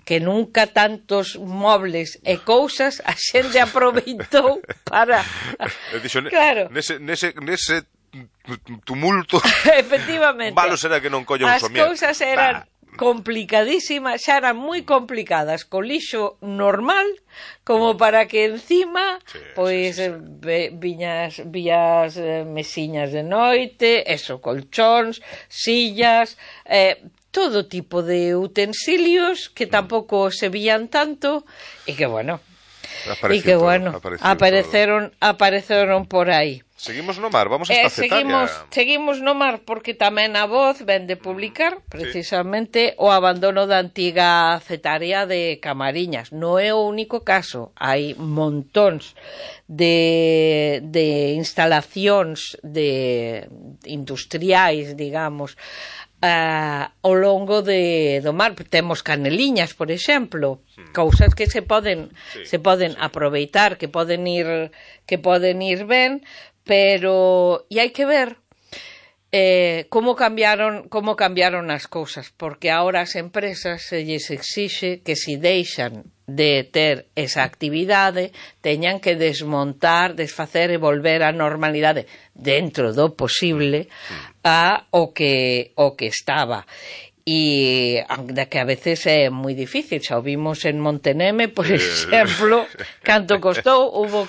que nunca tantos mobles e cousas a xente aproveitou para... Claro. Nese tumulto... Efectivamente. Malo será que non colla un somier. As cousas eran complicadísimas, xa eran moi complicadas co lixo normal, como para que encima vías mesiñas de noite, colchóns, sillas, todo tipo de utensilios que tampouco se vían tanto e que apareceron por aí. Seguimos no mar, vamos a esta cetaria. Seguimos no mar porque tamén a Voz ven de publicar precisamente o abandono da antiga cetaria de Camariñas. Non é o único caso, hai montóns de instalacións industriais, digamos, ao longo do mar. Temos Caneliñas, por exemplo, cousas que se poden aproveitar, que poden ir ben, pero hai que ver como cambiaron as cousas, porque ahora as empresas se lles exixe que se deixan de ter esa actividade teñan que desmontar, desfacer e volver á normalidade dentro do posible o que estaba. E que a veces é moi difícil, xa o vimos en Monteneme, por exemplo, canto costou, houbo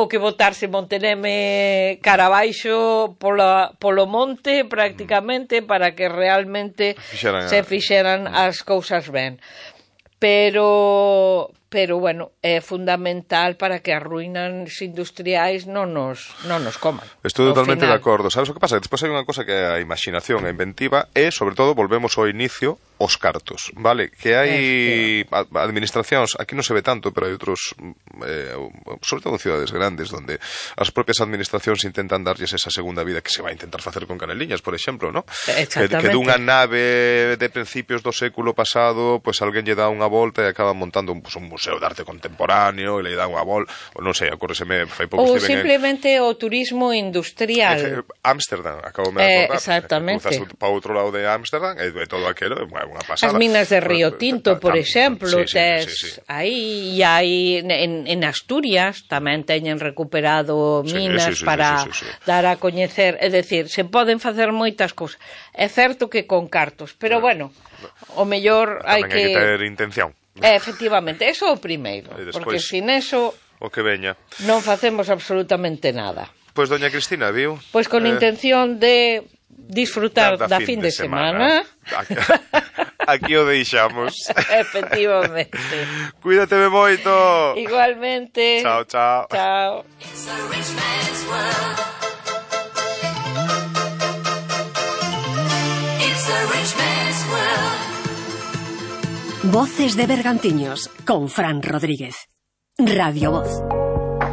que botarse Monteneme cara abaixo polo monte prácticamente para que realmente se fixeran as cousas ben. Pero bueno, é fundamental para que as ruínas industriais non nos coman. Estou totalmente de acordo. Sabes o que pasa? Despois hai unha cosa que é a imaginación, a inventiva, e, sobre todo, volvemos ao inicio, os cartos, vale? Que hai administracións, aquí non se ve tanto, pero hai outros, sobre todo en cidades grandes, donde as propias administracións intentan darlles esa segunda vida que se vai intentar facer con Caneliñas, por exemplo, ¿no? Que dunha nave de principios do século pasado, pues alguén lle dá unha volta e acaba montando un museo de arte contemporáneo e le dá unha volta, non sei, acórdeseme, fai pouco ou simplemente o turismo industrial. Ámsterdam, acabome de acordar. Exactamente. Cruzas para outro lado de Ámsterdam e todo aquilo, unha pasada. As minas de Río Tinto, por exemplo, tes aí, e aí en Asturias tamén teñen recuperado minas para dar a coñecer, é dicir, se poden facer moitas cousas. É certo que con cartos, pero bueno, o mellor hai que ter intención. Efectivamente, eso é o primeiro, porque sin eso o que veña non facemos absolutamente nada. Pois doña Cristina, viu? Pois con intención de disfrutar da fin de semana. Aquí o deixamos. Efectivamente. Cuídateme moito. Igualmente. Chao, chao. Chao. Voces de Bergantiños con Fran Rodríguez. Radio Voz.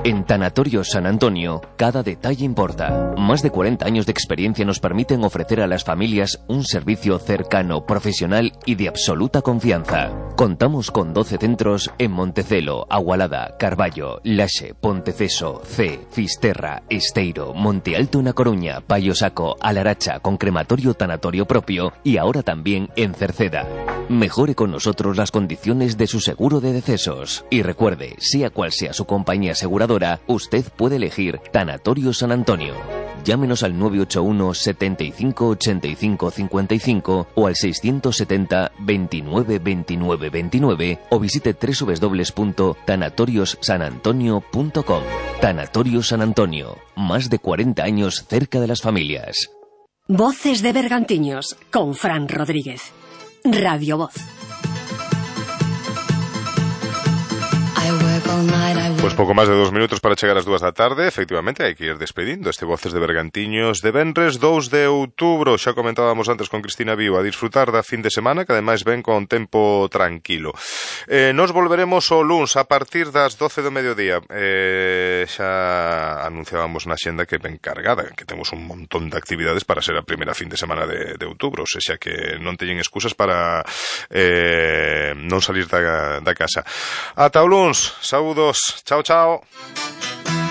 En Tanatorio San Antonio, cada detalle importa. Más de 40 años de experiencia nos permiten ofrecer a las familias un servicio cercano, profesional y de absoluta confianza. Contamos con 12 centros en Montecelo, Agualada, Carballo, Laxe, Ponteceso, C, Fisterra, Esteiro, Monte Alto en A Coruña, Paio Saco, Alaracha, con crematorio tanatorio propio y ahora también en Cerceda. Mejore con nosotros las condiciones de su seguro de decesos. Y recuerde, sea cual sea su compañía aseguradora, usted puede elegir Tanatorio San Antonio. Llámenos al 981 75 85 55 o al 670 29 29 29 o visite www.tanatoriossanantonio.com. Tanatorio San Antonio, más de 40 años cerca de las familias. Voces de Bergantiños con Fran Rodríguez. Radio Voz. Pois pouco máis de 2 minutos para chegar ás 2 da tarde. Efectivamente, hai que ir despedindo este Voces de Bergantiños de venres 2 de outubro. Xa comentábamos antes con Cristina Viu, a disfrutar da fin de semana, que ademais ven con tempo tranquilo. Nos volveremos o luns a partir das 12 do mediodía. Xa anunciábamos na xenda que ven cargada, que temos un montón de actividades para ser a primeira fin de semana de outubro, ou xa que non teñen excusas para non salir da casa. Ata o luns, saúdos, chao, chao.